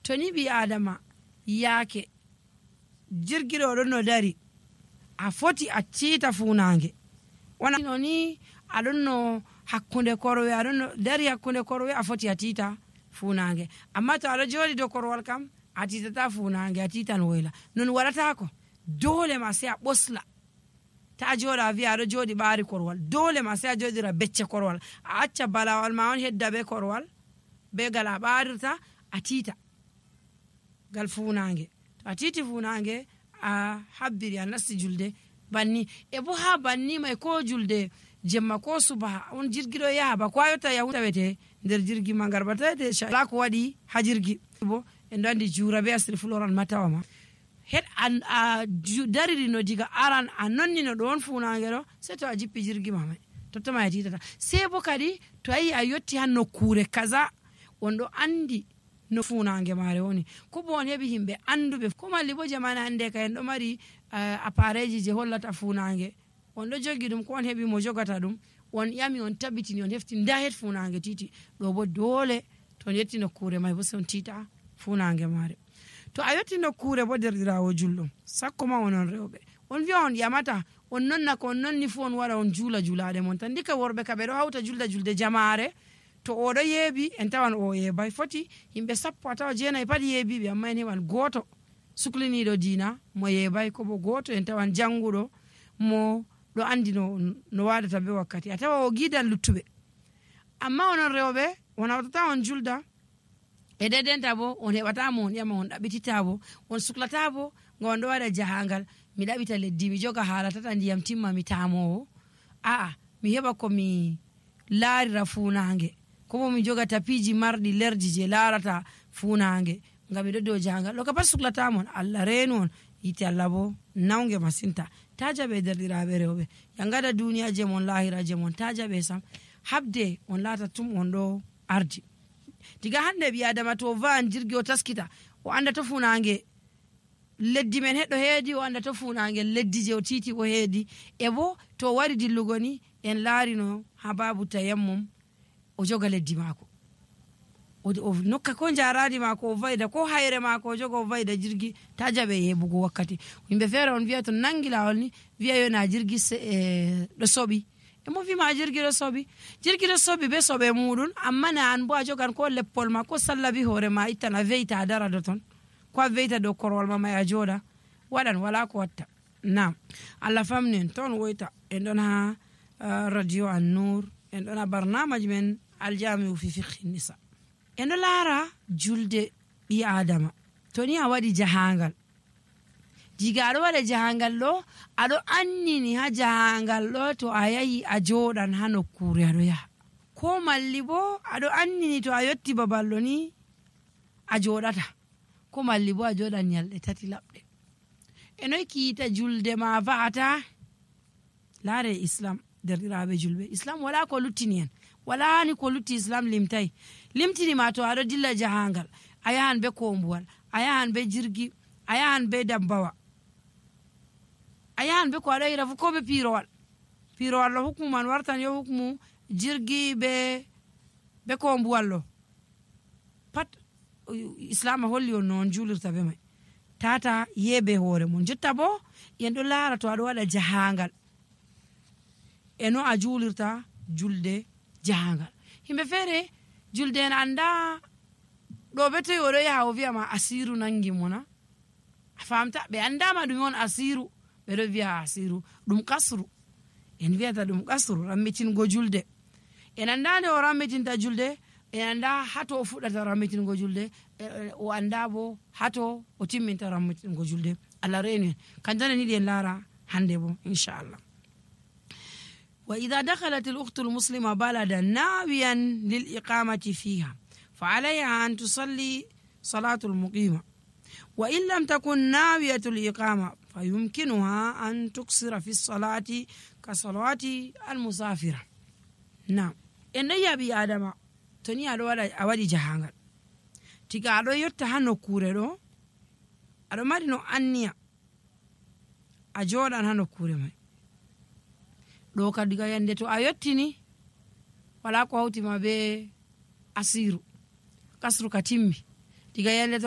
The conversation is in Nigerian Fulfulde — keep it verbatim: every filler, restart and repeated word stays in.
to ni ɓi adama yaake jirgiɗo ɗon no dari a foti a tiita funange wona no ni aɗon no hakkunde korwe aɗon no dari hakkunde korwe a foti a tiita funange amma to aɗo joɗi dow korwal kam a tiitata funange a tiitan woyla non waɗatako dole ma sai a ɓosla ta joɗa a wiya aɗo joɗi ɓaari korwal dole ma sai a joɗira becce korwal a acca balawal ma on hedda be korwal be gal a ɓarirta a tiita gal funange to a tiiti funange a habbiri a nasti julde banni e bo ha banni mai ko julde jemma ko subaha on jirgiɗo yaha ba ko a yotta yahu tawete nder jirgi ma ngar batawete la ko waɗi ha jirgi bo en ɗo andi juura be asiri floral matawa ma het an a dariri no diga aran a nonni no ɗon funange ɗo sei to a jippi jirgi ma mai tottoma a titata sei bo kadi to ayi a yotti ha nokkure kaza on ɗo andi no funange mare woni ko bo on heɓi himɓe anduɓe ko malli bo jamana hande ka en ɗo mari uh, appareji je hollata funange on ɗo jogi ɗum ko on heɓi mo jogata ɗum on ƴami on tabitini on hefti nda het funange titi ɗo bo dole to on yetti nokkure mai bo se on tita funange mare to a yetti nokkure bo derɗirawo julɗum sakko ma onon rewɓe on wiya on ƴamata on nonna ko on nonni fu on waɗa on juula juulaɗe mon tan ndika worɓe ka ɓe ɗo hawta julda julde jamare to oɗo yeebi en tawan o yeebay foti yimɓe sappo a tawa jeenayi pat yeebiɓe amma en heɓan gooto sukliniɗo diina mo yeebay ko bo gooto en tawan jannguɗo mo ɗo andi no, no waɗata be wakkati a tawa o giidan luttuɓe amma onon rewɓe on hawtata on julda e dedenta bo on heɓatamo on ƴama on ɗaɓɓitita bo on suklata bo nga on ɗo waɗa jahangal mi ɗaɓita leddi mi joga haala tata ndiyam timma mi tamowo aa mi heɓa komi laarira funange kobo mi joga tapiji marɗi lerji je larata funange ngam miɗo dow jahangal ɗo ka pat suklatamon Allah reenu on yite Allah bo nawge masinta ta jaɓe derɗiraɓe rewɓe yangada duniya je mon lahira je mon ta jaɓe sam habde on laata tum on ɗo ardi diga hande ɓi adama to van jirgi o taskita o anda to funange leddi men heɗɗo heedi o anda to funange leddi je o titi o heedi e bo to wari dillugo ni en laarino ha babu tayammum o joga leddi maako o nokka ko jaradi maako o vayda ko hayre maako o joga o vayda jirgi ta jaɓe yebugo wakkati yimɓe feere on wiya to nangi lawol ni wiya yo na jirgi ɗo soɓi e mo wima jirgi ɗo soɓi jirgi ɗo soɓi be soɓe muɗum amma na an bo a jogan ko leppol ma ko sallabi hoore ma ittan a veyta a dara do ton ko a veyta dow korwal ma may a jooɗa waɗan wala ko watta nam Allah famni en toon woyta en ɗon ha uh, radio an nour en ɗon ha barnamaji men aljamiu fi fiqhi nisa en ɗo laara julde ɓi adama to ni a waɗi jahangal diga aɗo waɗa jahangal ɗo aɗo annini ha jahangal ɗo to a yahi a jooɗan ha nokkure aɗo yaha ko malli bo aɗo annini to a yotti babal ɗo ni a jooɗata ko malli bo a jooɗan nyalɗe tati laɓɗe e noy kiita julde ma va'ata laare islam derɗiraɓe julɓe islam wala ko luttini en wala ni ko lutti islam limtay limtini ma to aɗo dilla jahangal a yahan be kombuwal a yahan be jirgi a yahan be dabbawa a yahan be ko aɗo yira fu ko be pirowal pirowal ɗo hukmu man wartan yo hukmu jirgi be be kombuwal ɗo pat islam holli on noon julirta be mai tata yebe hoore mon jotta bo en ɗo laara to aɗo waɗa jahangal eno a julirta julde jahangal himɓe feere julde en anda ɗo be toyi oɗo yaha o wiyama asiru nangi mona a famta ɓe andama ɗum on asiru ɓeɗo wiya asiru ɗum kasru en wiyata ɗum kasru rammitingo julde en anda nde o rammitinta julde en anda hato o fuɗɗata rammitingo julde o anda bo hato o timminta rammitingo julde Allah reeni en kanjane niɗi en laara hande bo inchallah وإذا دخلت الأخت المسلمة بلدا ناويا للإقامة فيها فعليها أن تصلي صلاة المقيمة وإن لم تكن ناوية الإقامة فيمكنها أن تقصر في الصلاة كصلوات المسافرة نعم إن يبي آدم تني أدوار أودي جهانغ تيجا أدو يرتهانو كوريرو أدو مارينو أنيا أجوران هانو كوريمي ɗo ka diga yande to a yottini wala ko hawtima be asiru kasru ka timmi diga yande to